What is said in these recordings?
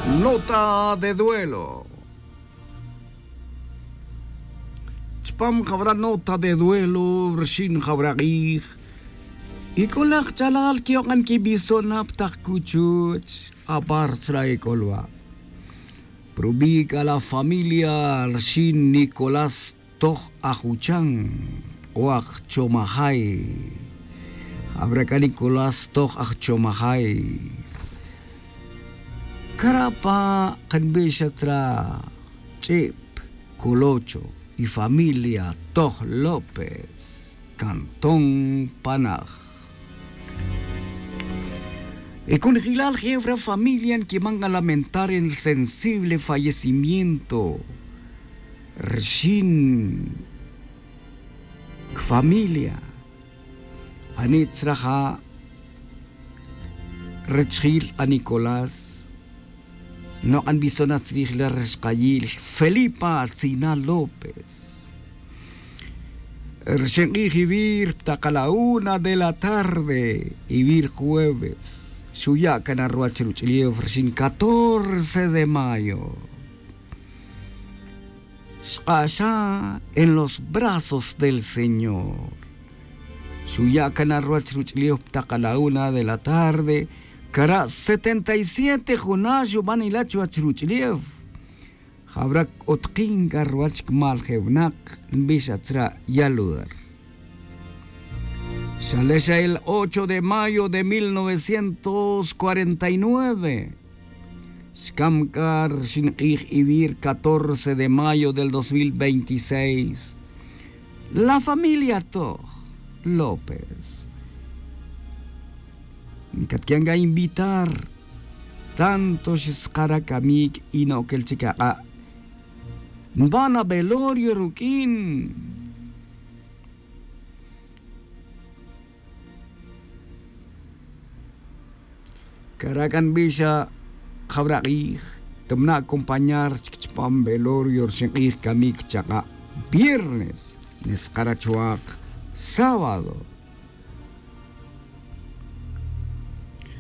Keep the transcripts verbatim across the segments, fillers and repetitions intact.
Nota de duelo. Chpam jawra' nota de duelo rxin jawra' q'ij, y k'o laj chalal que'ok'an quibisona' pa taq cuchuch. Apar tzra' ec'olwa', prubi' c'a la familia rxin Nicolás toj ajuchan o ajchomajay. Jawra' c'a Nicolás toj ajchomajay. Cara' pa' kanbixa tzra' ch'ib colocho y familia toj lópez, cantón panaj. Y conjelal jefra familia nquiman a lamentar el sensible fallecimiento rxin cfamilia. Ani' tzraja' richjil a nicolás nok'an bisona' tzrij la rixkayil felipa tzina lópez. Rixin k'ij ivir ptakal a una de la tarde ivir jueves xuya' can a ruwach ruch'ulef rixin catorce de mayo. Xk'axa en los brazos del señor. Xuya' can a ruwach ruch'ulef ptakal a una de la tarde. Cara' setenta y siete juna' xuban ila' chuwach ruch'ulef. Jawra' c'utkin c'a ruwach cmal je winak nbixa tzra' yalur. Xalexa el ocho de mayo de mil novecientos cuarenta y nueve. Xcam c'a rixin k'ij ivir catorce de mayo del dos mil veintiséis. La familia toj lópez ncatquian c'a invitar. Tanto xskara camic y no'quel chic ak'a' nban a velorio ruq'uin. Cara' c'a nbixa jawra' k'ij. Camna' acompañar chic chupam velorio rixin k'ij camic chaka' viernes neskara' chuwak sábado.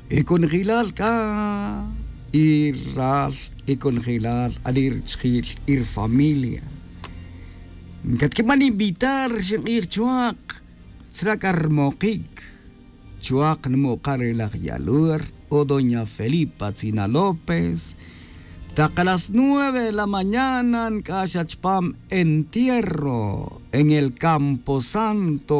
Y conjelal c'a y ral y conjelal ali richijil y rifamilia ncatquiman invitar rixin k'ij chuwak. Tzra' c'a rimokic chuwak nmuk'a' re laj yalur o doña felipa tzina lópez. Tak a las nueve de la mañana nc'ax a chupam entierro en el camposanto.